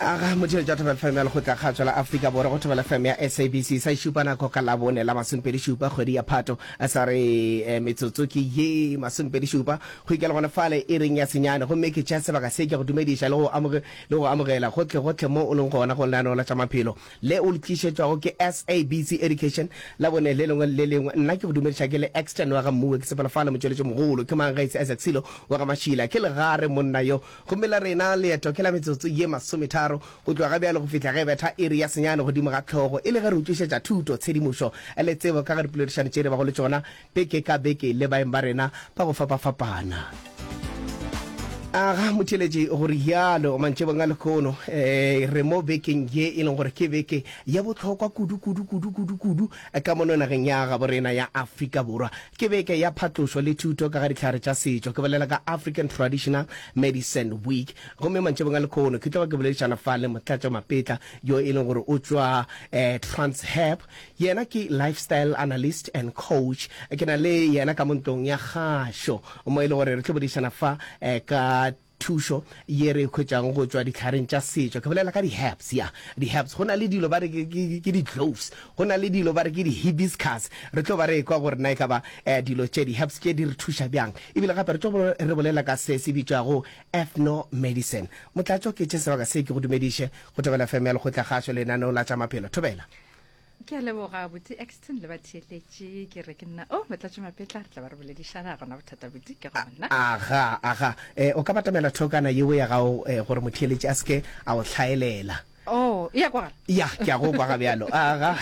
Aga motheletši wa Thobela FM ya Lekgotla Kgatšo la Afrika Borwa go Thobela FM ya SABC sa šupa nako ka Labone la masomepedi-šupa kgwedi ya Phato sa re eh, metsotso ke ye masomepedi-šupa go ikela gona fale iring ya senyane gomme ke tšea sebaka se ke go dumediša le go amoge, le go amogela gohle gohle mo o leng gona go lenaneo la tša maphelo le o le tlišetšwago ke SABC Education Labone le lengwe le le lengwe. Nna ke go dumediša ke le Exton wa ga Mmuwe ke sepela fale motšweletši mogolo ke mang gaetse Isaac Silo wa ga Mašila ke legare monna yo Gomme la rena leeto ke la metsotso ye masometharo go tloga ga bjale go fihla ge e betha iri ya senyane godimo ga hlogo, e le ge re utlišetša thuto, tshedimošo le tsebo ka ga dipoledišano tše re bago le tšona beke ka beke le baeng ba rena ba go fapafapana. Aga, motheeletši, go rialo mantšibong a lehono, e, re mo bekeng ye e leng gore ke beke ya bohlokwa kudu, kudu, kudu, kudu, kudu ka mono nageng ya gabo rena ya Afrika Borwa. Ke beke ya phatlošo le thuto ka ga dihlare tša setšo. Ke bolela ka African Traditional Medicine Week. Gomme mantšibong a lekhono ke tloga ke boledišana fa le Motlatšo Mapetla yo e leng gore o tšwa Transhab. Yena ke lifestyle analyst and coach. Ke na le yena ka mo ntlong ya kgašo mo e le gore re tlo boledišana fa ka Thušo ye re e hwetšago go tšwa dihlareng tša setšo, ke bolela ka di-herbs, ya, di-herbs. Go na le dilo ba re ke, ke, ke di-cloves, go na le dilo ba re ke di-hibiscus. Re tlo ba re ekwa gore na e ka ba eh, dilo tše, di-herbs tše di re thuša bjang. Ebile gape re tlo re bolela ka se se bitšwago ethnomedicine. Motlatšo, ke tše sebaka se ke go dumediše go Thobela FM ya Lekgotlakgašo, lenaneo la tša maphelo. Thobela. Ke a leboga buti Exton le batheeletši. Ke re ke nna o Motlatši Mapetla, re tla ba re boledišana gona bothata buti ke gona. Aga, aga. Eh, o ka batamela thokana yeo ya gago eh, gore motheeletši a se ke a o hlaelela. Oh, e a kwagala? Ya, ke a go kwa ga bjalo. Aga.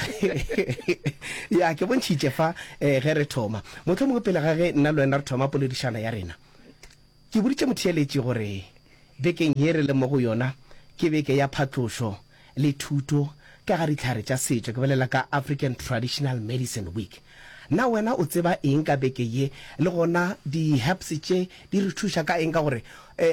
Ya, ke bontšhitše fa eh, ge re thoma. Mohlomongwe pele ga ge nna le wena re thoma poledišano ya rena, ke boditše motheeletši gore bekeng ye re leng mo go yona ke beke ya phatlošo le thuto ka ga dihlare tša setšo, ke bolela ka African Traditional Medicine Week. Na wena o tseba eng ka beke ye, le gona di-herbs tše di re thuša ka eng? Ka gore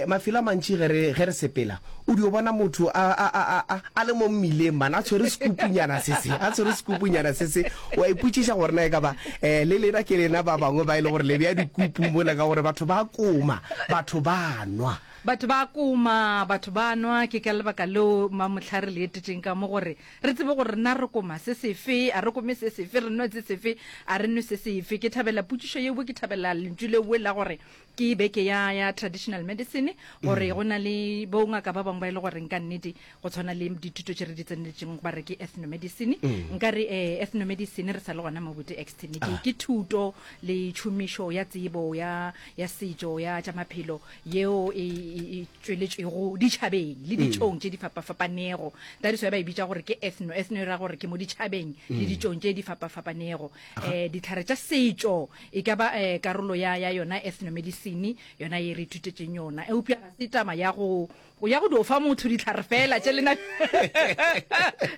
mafelo a mantši ge re, ge re sepela, o dio bona motho a, a, a, a, a le mo mmileng man, a tshwere sekupunyana se se, a tshwere sekupunyana se se, wa ipotšiša gore na e ka ba le lena ke lena ba bangwe ba e le gore le bea dikupu mola, ka gore batho ba koma, batho ba nwa. Batho ba koma, batho ba nwa, ke ka lebaka leo mamohla re le etetšeng ka mo gore re tsebe gore rena re koma se sefe, a re kome se sefe, re nwe se sefe, a re nwe se sefe. Ke thabela potšišo yeo, ke thabela lentšu leo la gore ke beke ya, ya traditional medicine, gore go na le bongaka ba bangwe ba e le goreng ka nnete go tshwana le dithuto tše re di tseneletšeng ba re ke ethnomedicine. Nka re eh, ethnomedicine re sa le gona mo bote extene, ke, ke thuto le tšhomišo ya tsebo ya, ya setšo ya tša maphelo yeo e, e, e tšweletšwego ditšhabeng le ditšong tše di fapafapanego. That is why ba e bitša gore ke ethno. Ethno e ra gore ke mo ditšhabeng le ditšong tše di fapafapanego. Eh, dihlare tša setšo e ka ba eh, karolo ya, ya yona ethnomedicine, yona ye re ithutetšeng yona. Eupša ga se taba ya go ya go dio fa motho dihlare fela tše lena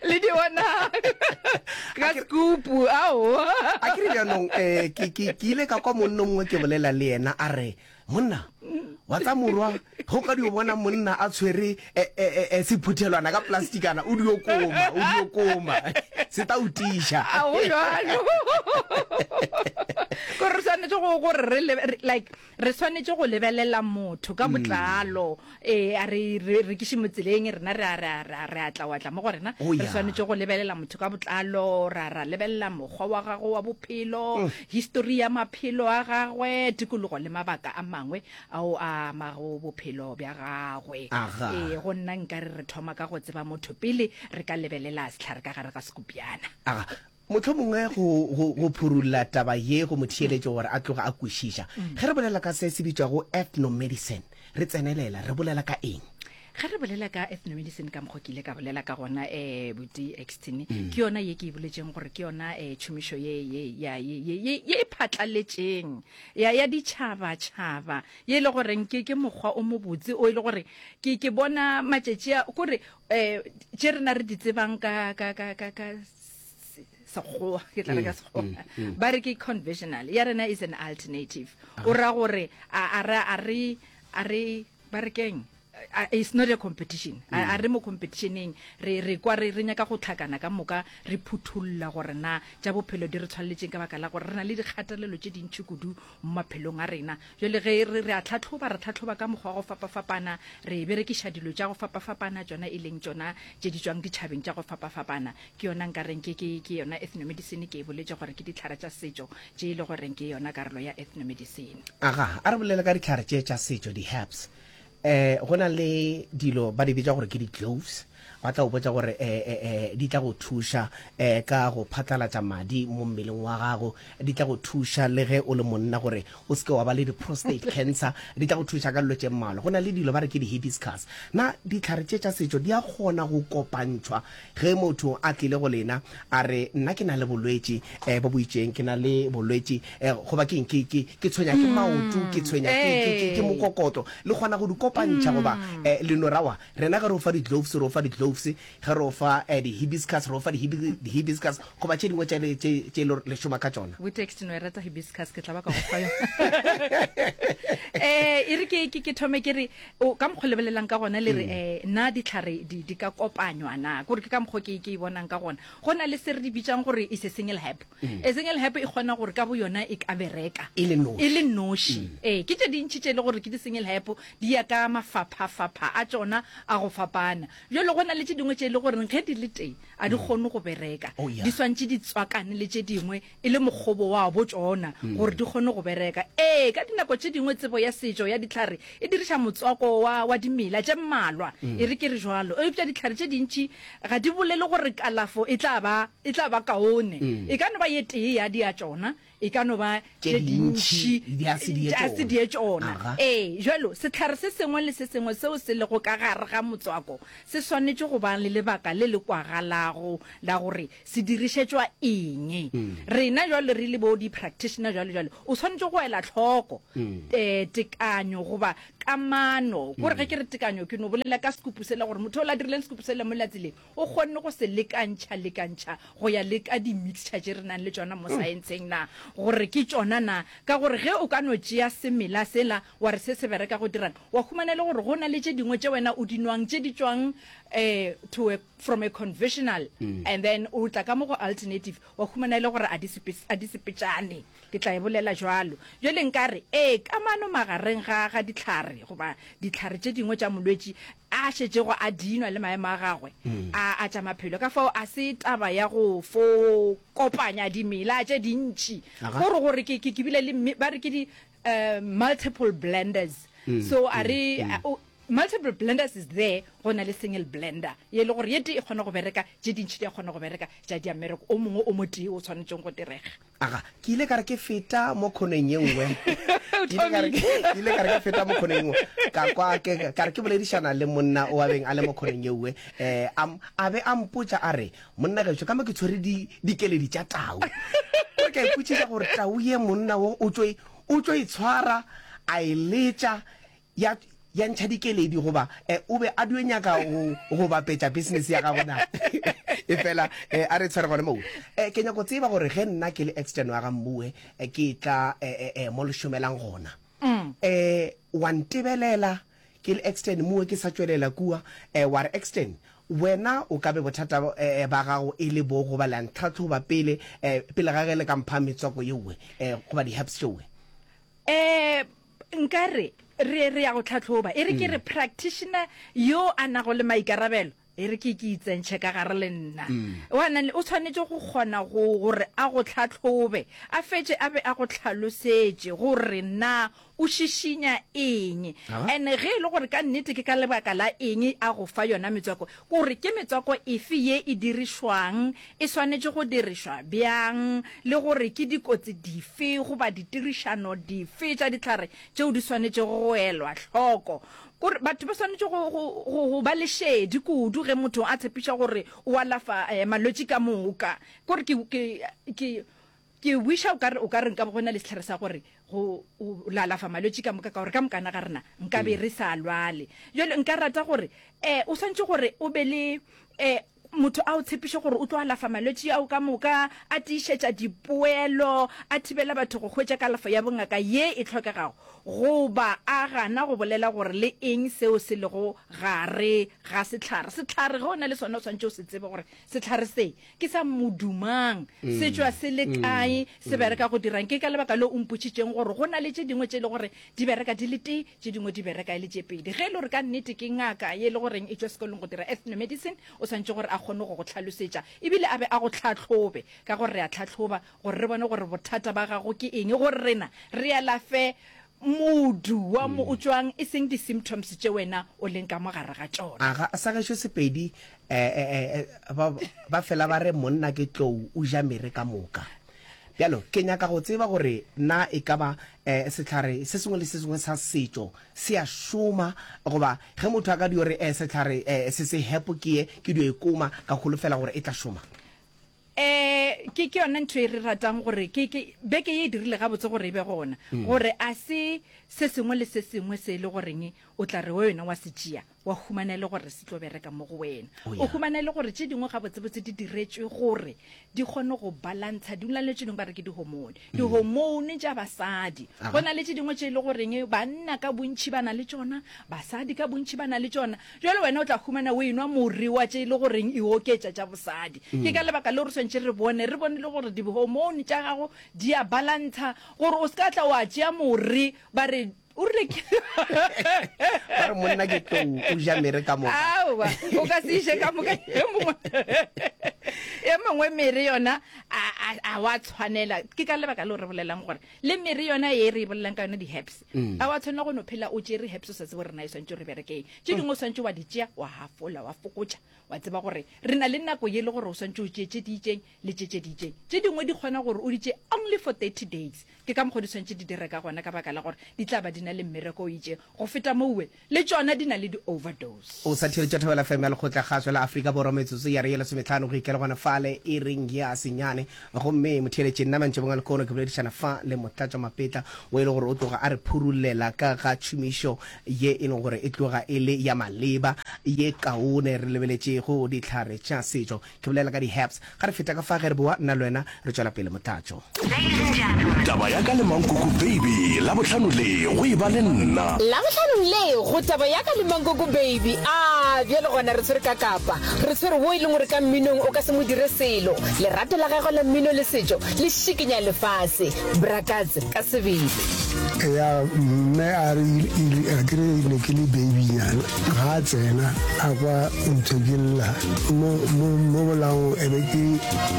le di bona ka sekupu, aowa. A ke re bjanong, eh, ke, ke, ke ile ka kwa monna o mongwe ke bolela le yena a re, Monna, wa tsa morwa, ge o ka dio bona monna a tshwere e, e, e, e, sephuthelwana ka plastikana, o dio koma, o dio koma. Se tla o tiiša. A go bjalo. Gore re swanetše go gore re le- like re swanetše go lebelela motho ka botlalo. Ee, a re re rekiše mo tseleng, rena re a re a re a re a tla wa tla mo go rena. Oh, Re yeah. swanetše go lebelela motho ka botlalo, ra ra lebelela mokgwa wa gagwe wa bophelo, histori ya maphelo a gagwe, tikologo le mabaka a mangwe ao a amago bophelo bja gagwe. Aga. Ee, go nna nkare re thoma ka go tseba motho pele re ka lebelela sehlare ka gare ga sekopjana. Aga. Mohlomongwe go, go, go phurulla taba ye go mo theeletše gore a tloge a kwešiša. Ge re bolela ka se se bitšwago ethnomedicine, re tsenelela, re bolela ka eng? Ge re bolela ka ethnomedicine ka mokgwa ke ile ka bolela ka gona, eh, Buti Exton, ke yona ye ke e boletšeng gore ke yona, eh, tšhomišo ye, ye, ya, ye, ye, ye, ye e phatlaletšeng ya, ya ditšhabatšhaba, ye e le goreng ke, ke mokgwa o mobotse o e le gore ke, ke bona matšatši a, kore, eh, tše rena re di tsebang ka, ka, ka, ka, ka Sekgowa, ke tla re ka Sekgowa, ba re ke conventional, ya rena is an alternative. O ra gore a, a re, a re, a re, ba re keng? It's not a competition. A re mo competitioneng, re re kwa re re nyaka go tlhakana ka moka, re phuthulla gore na tša bophelo di re tshwaleletšeng ka baka la gore re na le dikgatelelo tše dintši kudu mo maphelong a rena. Jwale ge re re a tlhatlhoba, re tlhatlhoba ka mokgwa wa go fapafapana, re berekiša dilo tša go fapafapana, tšona e leng tšona tše di tšwang ditšhabeng tša go fapafapana. Ke yona nka reng ke ke ke yona ethnomedicine, ke e boletše gore ke dihlare tša setšo tše e le goreng ke yona karolo ya ethnomedicine. Aga, a re bolele ka dihlare tše tša setšo, di-herbs. Eh, go na le dilo ba di bitša gore ke di-gloves, ba tla go botša gore eh, eh, eh, di tla go thuša eh, ka go phatlalatša madi mo mmeleng wa gago, di tla go thuša le ge o le monna gore o se ke wa ba le di-prostate cancer, di tla go thuša ka dilo tše mmalwa. Go na le dilo ba re ke di-hibiscus. Na dihlare tše tša setšo di a kgona go kopantšhwa Ge motho a tlile go lena, a re, Nna ke na le bolwetši eh, bo bo itšeng, ke na le bolwetši eh, goba ke eng, ke, ke, ke tshwenya ke maoto, ke tshwenya ke, ke, ke, ke mokokotlo, le kgona go di kopantšha goba eh, le no ra wa, rena ge re o fa di-gloves, re o fa di-gloves, ge re o fa eh, di-hibiscus, re o fa di-hibiscus, goba tše dingwe tše, tše, tše le, le šoma ka tšona. Botext no e rata hibiscus, ke tla ba ka go fa yona. Eh, e re ke, ke, ke thome ke re, O, ka mokgo lebelelang ka gona le re, eh, na dihlare di, di ka kopanywa na? Kore ke ka mokgo ke, ke e bonang ka gona. Go na le se re di bitsang gore is a single herb. A single herb e kgona gore ka boyona e ka bereka. E le noši. E le noši. Ee, ke tše dintši tše e le gore ke di-single herb, di ya ka mafaphafapha a tšona a go fapana. Bjalo go na le tše dingwe tše e le goreng ge di le tee, a di kgone go bereka. Oh, yeah. Di swantše di tswakane le tše dingwe e le mokgobo wa bo tšona gore di kgone go bereka. Ee, ka dinako tše dingwe tsebo ya setšo ya dihlare e diriša motswako wa, wa dimela tše mmalwa, e re ke re jwalo. Eupša dihlare tše dintši ga di bolele gore kalafo e tla ba, e tla ba kaone. E ka no ba ye tee ya di ya tšona, e ka no ba Tše tše dintši dintši di a se di ye tša se di ye tšona. Aga. Ee, jwalo sehlare se sengwe le se sengwe seo se lego ka gare ga motswako se swanetše go ba le lebaka le le kwagalago la gore Se dirišetšwa eng? Rena jwale re le bo di-practitioner jwale jwale, o swanetše go ela hloko eh, tekanyo goba kamano. Kore ge ke re tekanyo, ke no bolela ka sekupu sela gore motho ola dirileng sekupu sela mo tseleng, o kgonne go se lekantšha lekantšha go ya le ka di-mixture tše re nang le tšona mo saentsheng na, gore ke tšona na. Ka gore ge o ka no tšea semela sela wa re se se bereka go dirang, wa humana e le gore go na le tše dingwe tše wena o di nwang tše di tšwang eh, to a from a conventional mm. and then o tla ka mo go alternative wa humana e le gore a di sepetšane ke tla e bolela jwalo jwale nka re ee kamano magareng ga ga ditlhare goba ditlhare tše dingwe tša molwetši a šetšego a dinwa le maemo a gagwe mm. a a tša maphelo ka fao a se taba ya go fo kopanya dimela tše dintši gore gore ke ke bile le ba re ke di uh, multiple blenders mm. so a re mm. Multiple blenders is there, go na le single blender ye le gore ye tee e kgona go bereka, tše dintši di a kgona go bereka tša dia mmereko o mongwe o motee o tshwanetšeng go direga. Aga, ke ile ka re ke feta mo khoneng ye nngwe, ke ile ka re ke ile ka re ke feta mo khoneng ye nngwe, ka kwa ke ka re ke boledišana le monna o a beng a le mo khoneng ye nngwe, eh, a a be a mpotša a re, monna gešo ka mo ke tshwere di dikeledi tša tau. Gore ka ipotšiša gore tau ye monna wo o tšo o tšo e tshwara a e letša ya ya ntšha dikeledi goba eh, o be a dio nyaka go go bapetša business ya gago na e fela eh, a re tshware gone moo eh, ke nyako tseba gore ge nna ke le extern wa ga mmuwe eh, ke tla eh, eh, eh, mo le šomelang gona mm. eh, wa ntebelela ke le extern muwe ke sa tšwelela kua eh, wa re extern wena o ka be bothata eh, ba gago e le bo goba la ntlhatlhoba pele eh, pele ga ge le ka mpha metswako yeowe eh, goba di-herbs tšeowe Eh, nka re, re, re ya go tlhahloba. E re ke re practitioner yo a nago le maikarabelo, e re ke ke itsentšhe ka gare le nna. Wa nang le, o tshwanetše go kgona go, gore a go tlhahlobe, a fetše a be a go hlalosetše gore na o šišinya eng. And ge e le gore ka nnete ke ka lebaka la eng a go fa yona metswako, kore ke metswako efe ye e dirišwang, e swanetše go dirišwa bjang, le gore ke dikotsi dife goba ditirišano dife tša dihlare tšeo di swanetšego go elwa hloko. Kore batho ba swanetše go, go, go, go ba le šedi kudu ge motho a tshepiša gore o alafa eh, malwetši ka moka. Kore ke, ke, ke, ke wisha o ka re, o ka re nka be go na le sehlare sa gore go o la alafa malwetši ka moka, ka gore ka mokana ga rena nka be re sa lwale. Jwale nka rata gore eh, o swanetše gore o be le eh, Motho a o tshepiše gore o tlo alafa malwetši ao ka moka, a tiišetša dipoelo, a thibela batho go hwetša kalafo ya bongaka ye e hlokegago, goba a gana go bolela gore le eng seo se lego gare ga sehlare. Sehlare ge o na le sona o swanetše o se tsebe gore sehlare se ke sa modu mang, se tšwa se le kae, se bereka go dirang. Ke ka lebaka leo o mpotšitšeng gore go na le tše dingwe tše e le gore di bereka di le tee, tše dingwe di bereka e le tše pedi. Ge e le gore ka nnete ke ngaka ye e le goreng e tšwa sekolong go dira ethnomedicine, o swanetše gore a kgone go go hlalosetša ebile a be a go hlahlobe, ka gore re a hlahloba gore re bone gore bothata ba gago ke eng, gore rena re alafe modu wa mo o tšwang, e seng di-symptoms tše wena o leng ka mo gare ga tšona. Aga, sa gešo Sepedi, eh, eh, eh, ba, ba fela ba re monna ke tlou, o ja mere ka moka. Bjalo, ke nyaka go tseba gore na e ka ba eh, sehlare se sengwe le se sengwe sa setšo se a šoma, goba ge motho a ka dio re eh, sehlare eh, se se hepo ke ye, ke dio e koma, ka holofela gore e tla šoma. Eh, ke, ke yona ntho e re ratang gore ke, ke, beke ye e dirile gabotse gore e be gona, gore a se se sengwe le se sengwe se e le goreng o tla re wena wa se tšea, wa humana e le gore se tlo bereka mo go wena. Oh, O yeah. humana e le gore tše dingwe gabotsebotse di diretšwe gore di kgone go balantsha, di na le tše dingwe ba re ke dihormone, dihormone tša basadi. Aha. Go na le tše dingwe tše e le goreng banna ka bontši ba na le tšona, basadi ka bontši ba na le tšona. Jwale wena o tla humana o enwa more wa tše e le goreng e oketša tša bosadi. Ke ka lebaka leo re swanetše re bone, re bone le gore dihormone tša gago di a balantsha, gore o se ka tla wa tšea more ba re o rile ke ba re monna ke tlou o ja mere ka moka. Aowa, o ka se ije ka moka. E mongwe e mongwe mere yona a a a wa tshwanela. Ke ka lebaka leo re bolelang gore le mere yona e re e bolelang ka yona di-herbs, a wa tshwanela go no phela o tšere herbs o sa tsebe gore na e swantše gore e berekeng. Tše dingwe o swantše wa di tšea wa hafola wa fokotša, wa tseba gore re na le nako ye le gore o swantše o tšee tše di itšeng le tše tše di itšeng. Tše dingwe di kgona gore o di tšee only for 30 days. Ke ka mokgwa di swanetše di dire ka gona, ka baka la gore di tla ba di na le mmereko o itšeng. Go feta mowe, le tšona di na le di-overdose. O sa theeletša Thobela FM ya Lekgotlakgašo la Afrika Borwa metsotso ya re ye lesometlhano go ikela gona fale iring ya senyane. Gomme motheeletši nna mantšibong a lekono ke boledišana fa le Motlatšwa Mapetla o e le gore o tloga a re phurullela ka ga tšhomišo ye e leng gore e tloga e le ya maleba ye kaone re lebeletšego dihlare tša setšo. Ke bolela ka di-herbs. Ga re feta ka fa ge re boa, nna le wena re tšwela pele motlatšo. Taba ya ka le Mankoko Baby, Labohlano le go eba le nna. Labohlanong le go Taba ya ka le Mankoko Baby. A bjale gona re tshwere ka kapa. Re tshwere wo e leng gore ka mminong o ka se mo dire selo. Lerato la gagwe la mmino le setšo le šikinya lefase. Bra Katse ka sebele. Ya mme a re a ke re ne ke le baby nyana ga a tsena a kwa ntho ke lla mo mo mo bolaong e be ke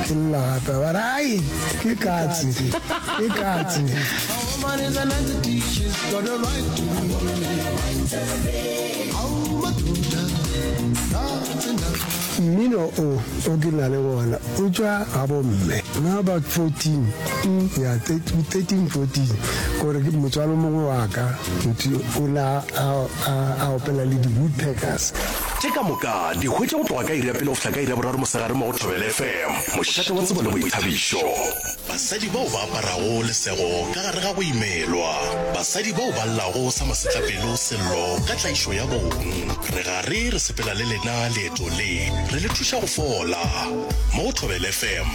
ke lla gape ba re ai ke katse ke katse. Mmino o o ke na le wona o tšwa ga bomme na about 14 ya 13 14 kore ke motswalo mongwe wa ka motho o na a opela le di-woodpeckers. Tše ka moka di hwetša go tloga ka iri ya pele go fihla ka iri ya boraro mosegare mo go Thobela FM, mošate wa tsebo le boithabišo. Basadi bao ba aparago lesego ka gare ga go imelwa. Basadi bao ba llago sa masetlapelo sello ka tlaišo ya bong. Re gare re sepela le lena leeto le, re le thuša go fola. Mo go Thobela FM,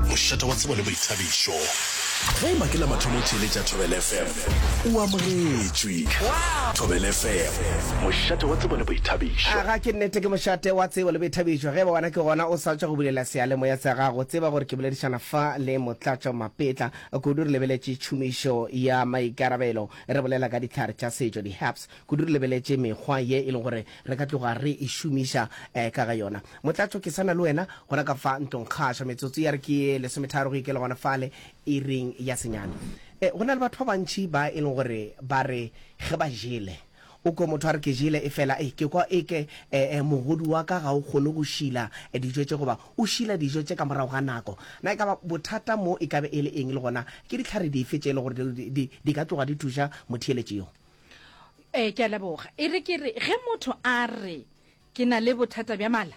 mošate wa tsebo le boithabišo. Ge e ba ke la mathomo o theeletša Thobela FM, o amogetšwe. Thobela FM, mošate wa tsebo le boithabišo. Aga, ke nnete ke mošate wa tsebo le boithabišo. Ge e ba wena ke gona o sa tšwa go bulela seyalemoya sa gago, tseba gore ke boledišana fa le Motlatšo Mapetla kudu re lebeletše tšhomišo ya maikarabelo, re bolela ka dihlare tša setšo, di-herbs, kudu re lebeletše mekgwa ye e leng gore re ka tloga re e šomiša ka ga yona. Motlatšo, ke sa na le wena gona ka fa ntlongkgašo. Metsotso ya re ke ye lesometharo go ikela gona fale iring ya senyane. Go na le batho ba bantši ba e leng gore ba re ge ba jele, o kwe motho a re ke jele efela ei ke kwa eke mogodu wa ka ga o kgone go šila dijo tše goba o šila dijo tše ka morago ga nako. Na e ka ba bothata mo e ka be e le eng le gona ke dihlare dife tše e le gore di ka tloga di thuša motheeletši yo? Ee, ke a leboga. E re ke re ge motho a re ke na le bothata bja mala,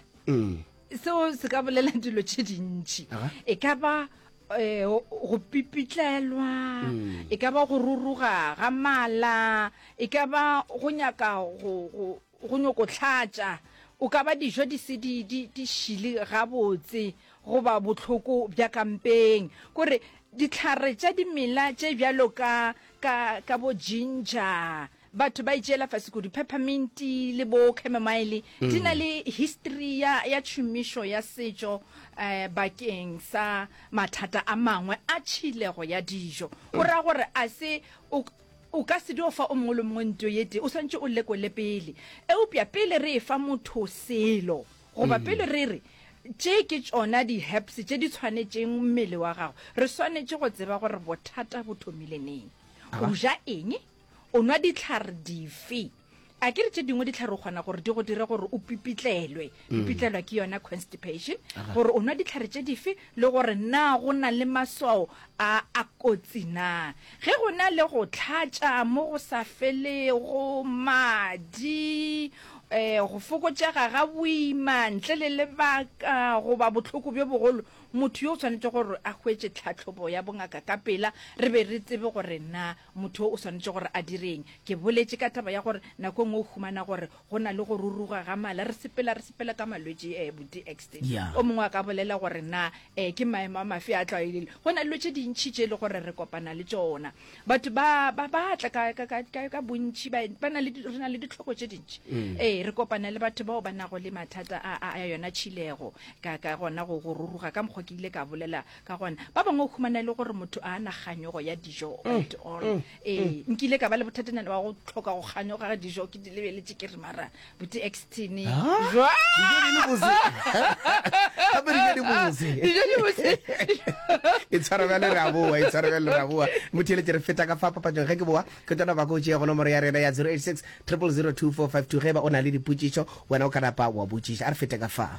seo se ka bolela dilo tše dintši. E ka ba um go pipitlelwa, e ka ba go ruruga ga mala, e ka ba go nyaka go, go, go nyoko hlatša. O ka ba dijo di se di, di, di šile gabotse, goba bohloko bja ka mpeng. Kore dihlare tša dimela tše bjalo ka, ka, ka bo ginger, batho ba itšeela fase kudu, peppermint le bo chamomile, di na le history ya, ya tšhomišo ya setšo eh, bakeng sa mathata a mangwe a tšhilego ya dijo. Go ra gore a se o, O ka se dio fa o mongwe le mongwe nto ye tee, o swanetše o lekole pele. Eupša pele re efa motho selo, goba pele re re, Tše ke tšona di-herbs tše di tshwanetšeng mmele wa gago, re swanetše go tseba gore bothata bo thomile neng. O ja eng? O nwa dihlare dife? A ke re tše dingwe dihlare o kgona gore di go dire gore o pipitlelwe. Pipitlelwa ke yona constipation. Gore o nwa dihlare tše dife le gore na go na le maswao a a kotsi na. Ge go na le go hlatša mo go sa felego, madi, um go fokotšega ga boima ntle le lebaka goba bohloko bjo bogolo, motho yo o swanetše gore a hwetše tlhahlobo ya bongaka ka pela re be re tsebe gore na Motho o swanetše gore a dire'ng? Ke boletše ka taba ya gore nako e nngwe o humana gore go na le go ruruga ga mala, re sepela re sepela ka malwetši eh, buti Exton. Yeah. O mongwe a ka bolela gore na eh, ke maemo a mafe a tlwaelegile. Go na le dilo tše dintši tše e le gore re kopana le tšona. Batho ba ba ba tla ka, ka, ka, ka, ka bontši, ba, ba na le, re na le ditlhoko tše dintši. Ee, re kopana le batho bao ba nago le mathata a, a, a yona tšhilego, ka, ka gona go, go ruruga ka mokgwa ke ile ka bolela Ka gona, ba bangwe o humana e le gore motho a na kganyogo ya dijo at all. Ee, nkile ka ba le bothatanyana wa go tlhoka go kganyoga ga dijo, ke di lebeletše ke re mara buti Extine, jwang? Dijo di le bose. Gape dijo di bose. Dijo di bose. E tshwara bjale re a boa, e tshwara bjale re a boa. Motheeletši re feta ka fa papatšong ge ke boa, ke tlo napa ke o tšea go nomoro ya rena ya 086 000 2452 ge e ba o na le dipotšišo wena o ka napa wa botšiša. A re fete ka fa.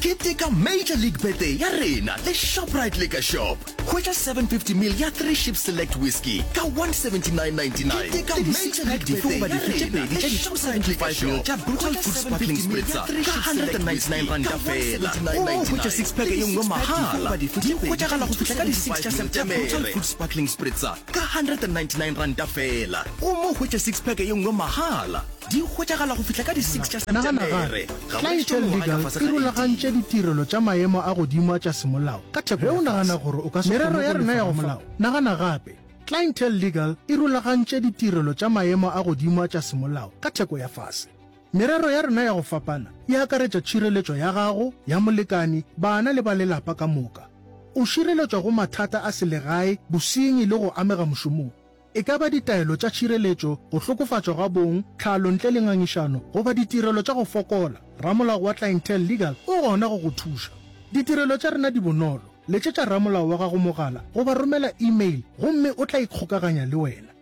Keteka Major League Birthday ya rena le Shoprite Liquor Shop. Hwetša 750 ml ya Three Ships Select Whisky ka 179.99 le di-six pack dife goba dife tše pedi tša di-275 ml tša Brutal Fruit Sparkling Spritzer ka R199 feela. Gomme o hwetša six pack ye nngwe mahala. Di hwetšagala go fihla ka di-six tša Septemere. Brutal Fruit Sparkling Spritzer ka R199 feela gomme o hwetša six pack ye nngwe mahala. Di hwetšagala go fihla ka di six tša Nagana Septemere. gape, Clientele Legal e rulagantše ditirelo tša maemo a godimo a tša semolao ka theko ya fase. Ge o nagana gore o ka se kgone go lefa ramolao, nagana gape. Clientele Legal e rulagantše ditirelo tša maemo a godimo a tša semolao ka theko ya fase. Merero ya rena ya go fapana e akaretša tšhireletšo ya gago, ya molekani, bana le ba lelapa ka moka. O šireletšwa go mathata a selegae, bosenyi le go amega mošomong. E ka ba ditaelo tša tšhireletšo, go hlokofatšwa ga bong, tlhalo ntle le ngangišano, goba ditirelo tša go fokola, ramolao wa Clientele Legal o gona go go thuša. Ditirelo tša rena di bonolo, letšetša ramolao wa gago mogala goba romela e-mail gomme o tla ikgokaganya le wena.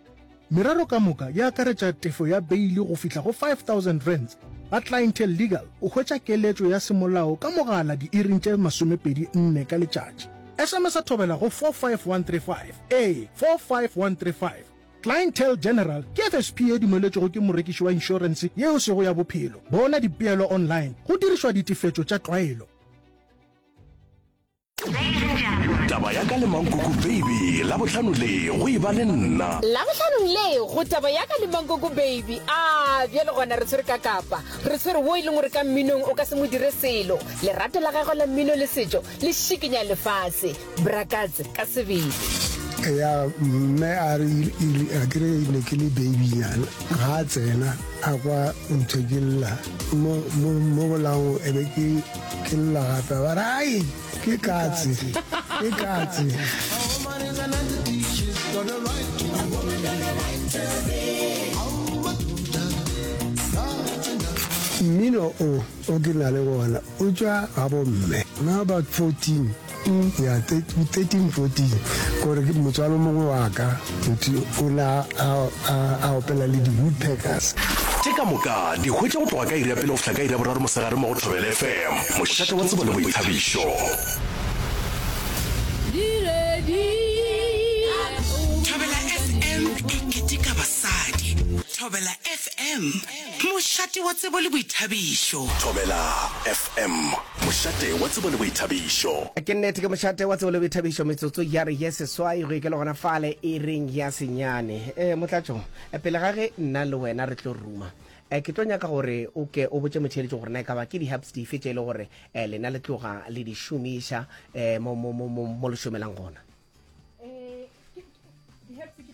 Merero ka moka e akaretša tefo ya beili go fihla go R5000. Ga Clientele Legal o hwetša keletšo ya semolao ka mogala diiring tše 24 ka letšatši. SMS-a thobela go 45135. Ee, 45135. Clientele General ke FSP ye dumeletšwego ke morekiši wa inšorense ye e sego ya bophelo. Bona dipeelo online go dirišwa ditefetšo tša tlwaelo. Taba ya ka le Mankoko Baby, Labohlano le go e ba le nna. Labohlanong le go Taba ya ka le Mankoko Baby. A bjale gona re tshwere ka kapa. Re tshwere wo e leng gore ka mminong o ka se mo dire selo. Lerato la gagwe la mmino le setšo le šikinya lefase. Brakatse ka sebele. Ya mme a re a ke re ne ke le babynyana ga a tsena a kwa ntho ke lla mo mo mo bolaong e be ke ke lla gape ba re ai ke katse ke katse. Mmino o o ke na le wona o tšwa ga bomme na about 14 Ya, 13, 14, kore ke motswalo mongwe wa ka, motho o ne a, a, a opela le di-Woodpeckers. Tše ka moka di hwetša go tloga ka iri ya pele go fihla ka iri ya boraro mosegare mo go Thobela FM, mošate wa tsebo le boithabišo. Thobela FM e keteka basadi. Thobela FM, mošate wa tsebo le boithabišo. Thobela FM, mošate wa tsebo le boithabišo. Ke nnete, ke mošate wa tsebo le boithabišo, metsotso ya re ye seswai go ikela gona fale iring ya senyane. E, Motlatšo, pele ga ge nna le wena re tlo ruma, Eh, ke tlo nyaka gore o ke o botše motheeletši gore na e ka ba ke di-herbs dife tše e le gore eh, lena le tloga le di šomiša eh, mo, mo, mo, mo, mo le šomelang gona.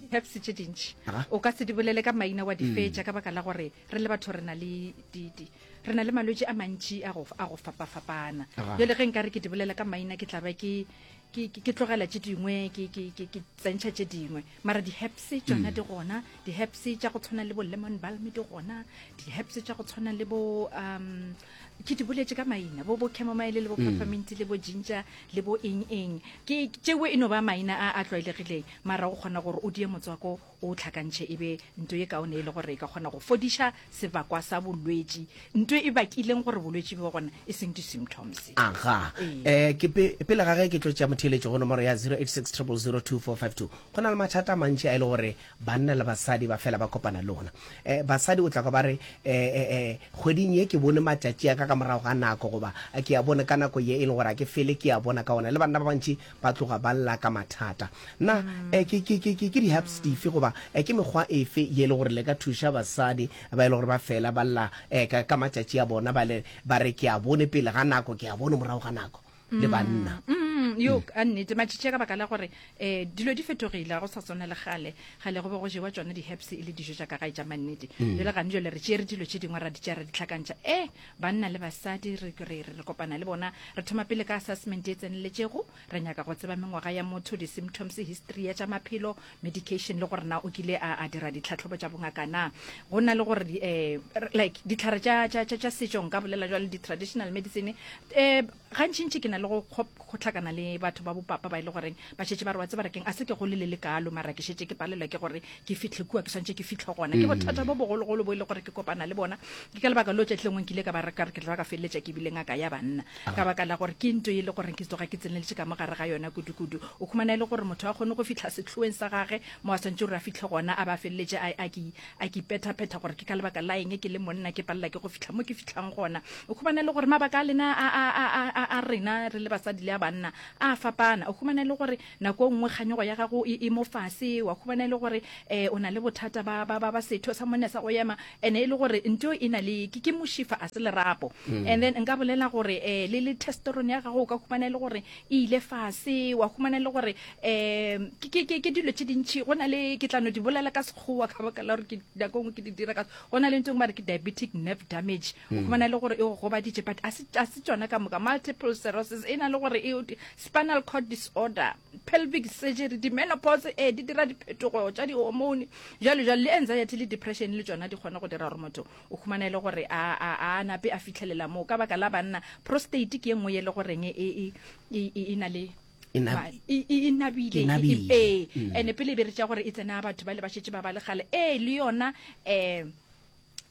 Di-herbs tše dintši o ka se di bolele ka maina wa di mm. fetša ka baka la gore re le batho re na le di, di, re na le malwetši a mantši a go, a go fapafapana jale ge nka re ke di bolela ka maina ke tla ba ke ke ke tlogela tše dingwe ke ke ke ke tsentšha tše dingwe mara di-herbs tšona mm. di gona di-herbs tša go tshwana le bo lemon balm di gona di-herbs tša go tshwana le bo um ke di boletše ka maina bo bo chamomile le bo mm. peppermint le bo ginger le bo eng eng ke tšeo e no ba maina a a tlwaelegileng mara o kgona gore o die motswako o tlhakantšhe e be nto ye kaone e le gore e ka kgona go fodiša sebakwa sa bolwetši, nto e bakileng gore bolwetši bo gona, e seng di-symptoms. Aga. Eh, ke pe, pele ga ge ke tlo tšea motheeletši go nomoro ya 086 000 2452, go na le mathata a mantši a e le gore banna le basadi ba fela ba kopana le ona. Eh, basadi o tla kwa ba re, eh, eh, eh, kgweding ye ke bone matšatši a ka ka morago ga nako, goba ke a bone ka nako ye e le gore a ke fele ke a bona ka ona. Le banna ba bantši ba tloga ba lla ka mathata. Na eh, ke, ke, ke, ke, ke di-herbs dife goba eh, ke mekgwa efe ye e le gore le ka thuša basadi ba e le gore ba fela ba lla eh, ka, ka matšatši a bona ba le, ba re ke a bone pele ga nako, ke a bone morago ga nako, le banna? Mm, yo ka nnete matšatši a ka baka la gore um dilo di fetogile ga go sa swana le gale gale go be go jewa tšona di-herbs e le dijo tša ka gae tša mannete jale gane jale re tšere dilo tše dingwe ra di tšea ra di tlhakantšha e Banna le basadi re, re, re kopana le bona. Re thoma pele ka assessment e tseneletšego. Re nyaka go tseba mengwaga ya motho, di-symptoms, history ya tša maphelo, medication le gore na o kile a, a dira ditlhahlobo tša bongaka na. Go na le gore eh, like ditlhare tša, tša, tša, tša setšo nka bolela jwalo di-traditional medicine eh, gantšintši ke na le go go hlakana le batho ba bopapa ba e le goreng ba šetše ba re wa tseba re keng a se ke gole le le kalo mara ke šetše ke palelwa ke gore ke fihle kua ke swantše ke fihle gona ke bothata bo bogologolo bo e le gore ke kopana le bona ke ka lebaka leo tšatši lengwe nkile ka ba re ka re ke tla ba ka feleletša ke bile ngaka ya banna ka baka la gore ke nto e le gore ke tsoga ke tseneletše ka mo gare ga yona kudu-kudu o khumana e le gore motho a kgone go fihla sehloeng sa gage mo a swantše gore a fihle gona a ba feleletše a, a ke a ke ipetha-phetha gore ke ka lebaka la eng ke le monna ke palela ke go fihla mo ke fihlang gona. O khumana e le gore mabaka a lena a, a, a, a, a, a rena re le basadi le a banna a fapana. O khumana e le gore nako e nngwe kganyogo ya gago e, e mo fase, wa khumana e le gore um o na le bothata ba, ba, ba, ba setho sa monna sa go ema, ene e le gore nto e na le ke, ke mošifa a se lerapo. Mm. And then nka bolela gore um le, le testosterone ya gago o ka khumana e le gore e ile fase, wa khumana e le gore um ke, ke, ke, ke dilo tše dintši. Go na le, ke tla no di bolela ka Sekgowa ka baka la gore ke nako e nngwe ke di dira ka, go na le ntho e nngwe ba re ke diabetic nerve damage, o mm. khumana e le gore e go gobaditše, but a se, a se tšona ka moka. Multiple sclerosis e na le gore e, spinal cord disorder, pelvic surgery, di-menopause, eh, di dira diphetogo tša di-hormone, jalo jalo, le anxiety le depression le tšona di kgona go dira gore motho o khumana e le gore a, a, a nape a fitlhelela moo. Ka baka la banna, prostate ke e nngwe ye le goreng e, e, e, e, e na le E na- Ma- e e- e nabile E nabile. ee ene pele e be re tša gore e tsena batho ba le ba šetše ba ba le gale ee le yona um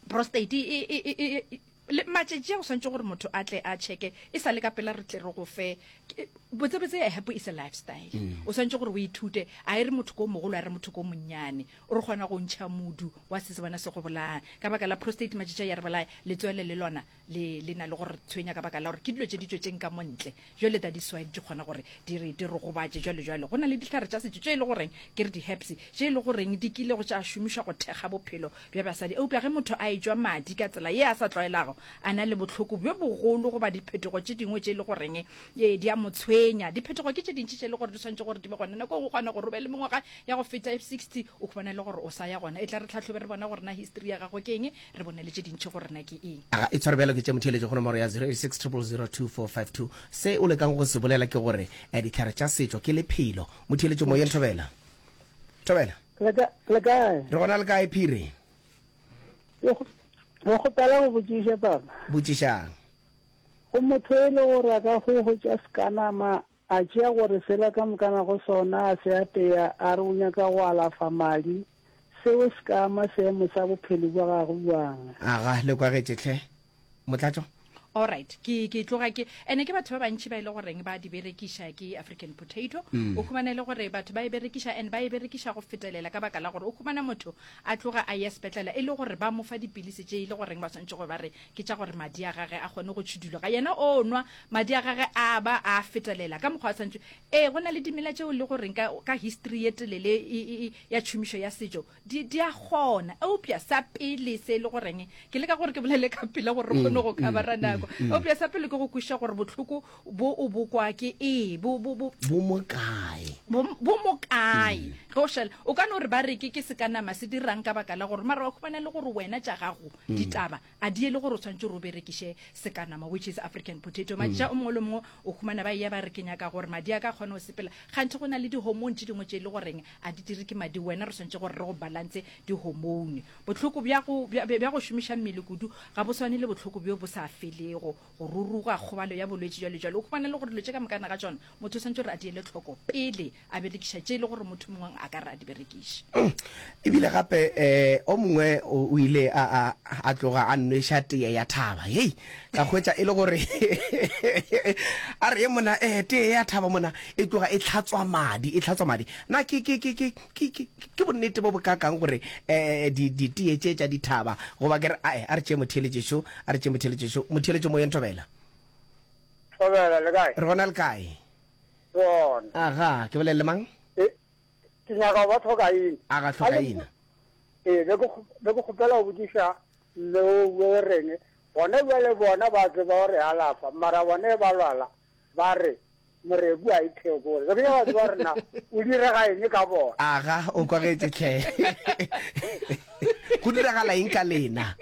prostate e, e, e, e, e, le matšatši a go swantše gore motho a tle a checke e sa le ka pela re tle re go fe ke- botsebotse a happy is a lifestyle mm. o swantše gore o ithute a e re motho ko mogolo a re motho ko monnyane o re kgona go ntšha modu wa se se bona se go bolaya ka baka la prostate matšatši a ya re bolaya letswele le lona le le na le gore tshwenya ka baka la gore ke dilo tše di tšwetšeng ka mo ntle jwale that is why di kgona gore di re di re gobatše jwale jwale go na le dihlare tša setšo tše e le goreng ke re di-herbs tše e le goreng di kile go tša šomišwa go thekga bophelo bja basadi eupša ge motho a etšwa madi ka tsela ye a sa tlwaelago a na le bohloko bjo bogolo goba diphetogo tše dingwe tše e le goreng ee di a mo tshwenya diphetogo ke tše dintši tše e le gore di swanetše gore di be gona nako e nngwe o kgona gore o be le mengwaga ya go feta e 60 o khumana e le gore o sa ya gona e tla re tlhahlobe re bona gore na history ya gago ke eng re bone le tše dintši gore na ke eng. Aga, e tshware bjalo ke tše motheeletši go nomoro ya 086 000 2452. Se o lekang go se bolela ke gore eh, dihlare tša setšo ke lephelo. Motheeletši moyeng Thobela. Thobela. Le ka, le kae? Re gona le kae Phiri? Ke go- Ke kgopela go botšiša papa. Botšišang. Go motho e le gore a ka go hwetša sekanama a tšea gore sela ka mokana go sona a se apea a re o nyaka go alafa madi, seo se ka ama seemo sa bophelo bja gagwe bjang? Aga, le kwagetše hle. Motlatšo? Alright, ke, ke tloga ke, ene ke batho ba bantši ba e le goreng ba di berekiša ke African potato. Mm. O humana e le gore batho ba e berekiša and ba e berekiša go fetelela ka baka la gore o humana motho a tloga a ya sepetlela e le gore ba mo fa dipilisi tše e le goreng ba swantše go ba re ke tša gore madi a gage a kgone go tšhiduloga. Yena o nwa madi a gage a ba a fetelela ka mokgwa a swantše. Ee, go na le dimela tšeo le goreng ka, ka history ye telele e, e, e, ya tšhomišo ya setšo di, di a kgona. Eupša sa pele se e le goreng, ke leka gore ke bolele ka pela gore re kgone go mm, covera mm, nako. Mm, Eupša sa pele ke go kwešiša gore bohloko bo o bo kwa ke ee, bo, bo, bo, bo mo kae? Bo, bo mo kae? Ge o šala, o ka no re ba re ke, ke sekanama se dirang ka baka la gore, mara wa khumana le gore wena tša gago ditaba a di ye le gore o swanetše gore o berekiše sekanama, which is African potato. Matša o mongwe le mongwe o khumana ba eya ba re ke nyaka gore madi a ka kgone go sepela, kganthe go na le di-hormone tše dingwe tše e le goreng A di dire ke madi, wena re swanetše gore re go balance dihormone. Bohloko bja go, bja, bja go šomiša mmele kudu ga bo swane le bohloko bjo bo sa felego, go ruruga, kgobalo ya bolwetši, bjalo bjalo. O humana le gore dilo tše ka mokana ga tšona motho o swanetše gore a di ele hloko pele a berekiša tše e le gore motho mongwe a ka re a di berekiše. Ebile gape um o mongwe o ile a, a, a tloga a nweša teye ya thaba. Hei, ka hwetša e le gore a re ye mona um teye ya thaba mona e tloga e hlatswa madi, e hlatswa madi. Na ke, ke, ke, ke, ke, ke, ke bonnete bo bokakang gore um di, diteye tše tša dithaba, goba ke re, ae, a re tšee motheeletšešo, a re tšee motheeletšešo, motheeletšo moyeng Thobela. Thobela, le kae? Re gona le kae? Gona. Aga, ke bolele le mang? E, ke nyaka go ba tlhokaina. Aga, tlhokaina. Ee, be ke, be ke kgopela go botšiša mme o o reng, gona bjale bona ba tseba gore alafa, mara bona e ba lwala, ba re, Moreku a ithekole. Be ke nyaka go tseba gore na o direga eng ka bona. Aga, o kwagetše hle. Go diragala eng ka lena?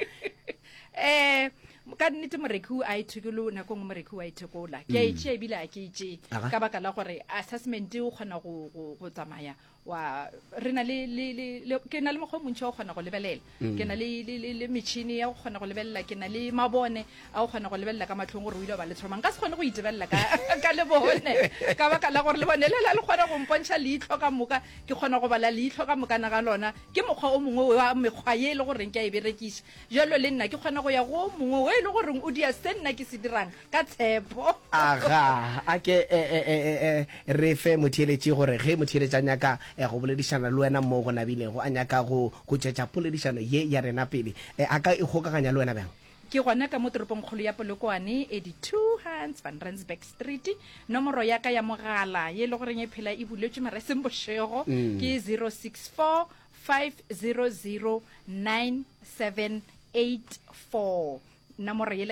Eh, ka nnete moreku a ithekolo, nako nngwe moreku a ithekola. Ke a e tšea ebile a ke e tšee. Ka baka la gore assessment o kgona go, go, go tsamaya wa re na le, le, le, le, ke na le mokgwa o montši wa go kgona go lebelela. Ke na le, le, le, le metšhini ya go kgona go lebelela, ke na le mabone a go kgona go lebelela ka mahlong gore o ile wa ba le trauma. Nka se kgone go itebelela ka, ka lebone, ka baka la gore lebone lela le kgona go mpontšha leihlo ka moka, ke kgona go bala leihlo ka mokana ga lona. Ke mokgwa o mongwe wa mekgwa ye e le goreng ke a e berekiša. Bjalo le nna ke kgona go ya go o mongwe wo e le goreng o dia se nna ke se dirang ka tshepo. Aga, a ke e, e, e, e, e, re fe motheeletši gore ge motheeletši a nyaka e, go boledišana le wena moo go nabilego, a nyaka go, go tšwetša poledišano ye ya rena pele, e, a ka ikgokaganya le wena bjang? Ke gona ka mo toropongkgolo ya Polokwane, 82 Hans van Rensburg Street. Nomoro ya ka ya mogala ye e le goreng e phela e buletšwe mara e seng bošego ke 064 500 9784. Nomoro yela.